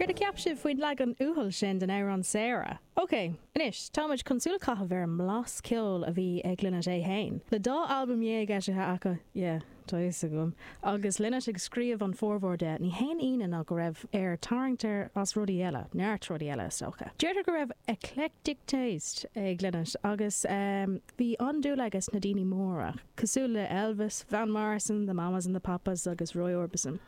Céard a cheap sibh faoin leagan uathúil sin den amhrán Sarah? Ok, anois, táimid chun súil a chaitheamh ar an mblas ceoil a bhí ag Lynott é fhéin. Le dá albam dhéag eisithe acu, yeah, tá fhios agam, agus Lynott ag scríobh an formhór de, ní haon ionadh ná go raibh air tarraingt air as rudaí eile, neart rudaí eile, is dócha. Deirtear go raibh eclectic taste ag Lynott agus bhí an-dúil aige sna daoine móra, cosúil le Elvis, Van Morrison, The Mamas and the Papas agus Roy Orbison.